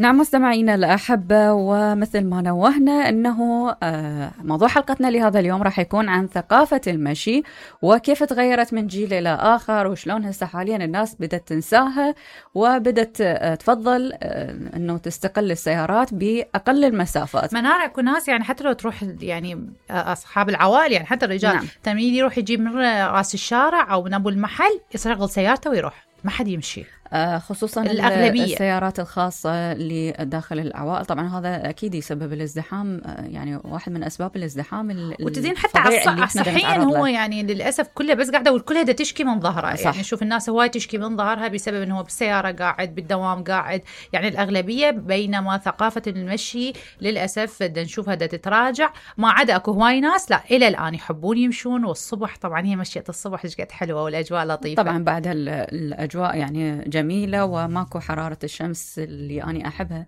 نعم مستمعينا الأحبة، ومثل ما نوهنا أنه موضوع حلقتنا لهذا اليوم راح يكون عن ثقافة المشي وكيف تغيرت من جيل إلى آخر، وشلون هسه حاليا الناس بدأت تنساها وبدأت تفضل أنه تستقل السيارات بأقل المسافات. منار أكو ناس يعني حتى لو تروح يعني أصحاب العوائل، يعني حتى الرجال نعم. تميل يروح يجيب من راس الشارع أو من أبو المحل يشغل سيارته ويروح، ما حد يمشي. خصوصا الأغلبية السيارات الخاصة اللي داخل العوائل، طبعا هذا أكيد يسبب الازدحام، يعني واحد من أسباب الازدحام. وتزين حتى صحيا هو يعني للأسف كله بس قاعدة والكلها دا تشكي من ظهرها، يعني شوف الناس هواي تشكي من ظهرها بسبب أنه هو بالسيارة قاعد، بالدوام قاعد، يعني الأغلبية. بينما ثقافة المشي للأسف دا نشوفها دا تتراجع، ما عدا أكو هواي ناس لا إلى الآن يحبون يمشون. والصبح طبعا هي مشية الصبح قد حلوة والأجواء لطيفة، طبعا بعد الأجواء يعني جميلة وماكو حرارة الشمس اللي أنا أحبها.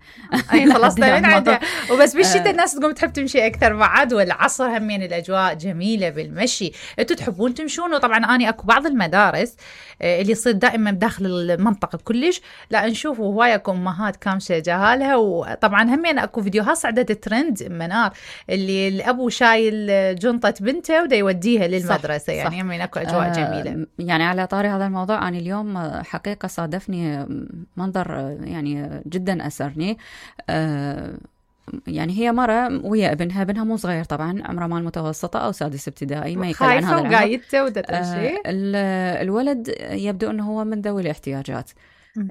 أي خلصنا من عندها. وبس بالشتاء الناس تقوم تحب تمشي أكثر بعد، والعصر همين الأجواء جميلة بالمشي. أنتوا تحبون تمشون؟ وطبعا أنا أكو بعض المدارس اللي يصير دائما بداخل المنطقة كلش لا نشوف هواي أكو أمهات كامشة جهالها. وطبعا همين أكو فيديوهات صعدت ترند منار اللي الأبو شايل جنطة بنته ودا يوديها للمدرسة، صح يعني همين أكو أجواء جميلة. يعني على طاري هذا الموضوع، أنا اليوم حقيقة صادفني منظر يعني جدا أسرني. يعني هي مرة ويا ابنها مو صغير طبعا، عمره مال متوسطة أو سادس ابتدائي، ما يقل عن هذا العمر. خايفة وقايدته الولد يبدو أنه هو من ذوي الاحتياجات،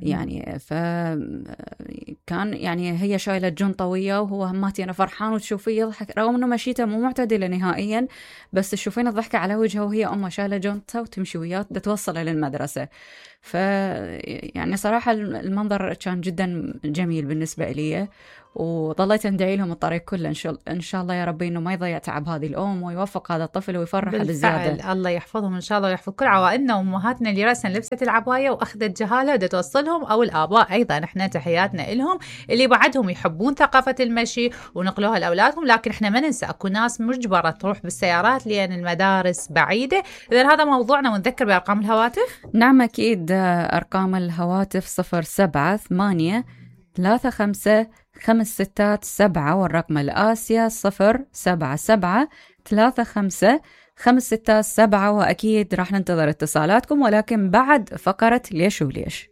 يعني فكان يعني هي شايلة جنطة وياه وهو هماتي أنا فرحان، وتشوفيه يضحك رغم أنه مشيته مو معتدلة نهائيا، بس تشوفين الضحكة على وجهه وهي أمه شايلة جنطة وتمشي وياه توصله للمدرسة. يعني صراحة المنظر كان جدا جميل بالنسبة لي، وظليت أندعي لهم الطريق كله إن شاء الله يا ربي إنه ما يضيع تعب هذه الأم ويوفق هذا الطفل ويفرح بالزيادة. الله يحفظهم إن شاء الله ويحفظ كل عوائلنا وأمهاتنا اللي رأسا لبست العباية وأخذت جهالة ودا توصلهم، أو الآباء أيضا إحنا تحياتنا إلهم اللي بعدهم يحبون ثقافة المشي ونقلوها لأولادهم. لكن إحنا ما ننسى أكو ناس مجبرة تروح بالسيارات لأن المدارس بعيدة. إذن هذا موضوعنا، ونذكر بأرقام الهواتف. نعم أكيد، أرقام الهواتف 0783555667 والرقم الآسيا 07735555667. وأكيد راح ننتظر اتصالاتكم، ولكن بعد فقرة ليش وليش.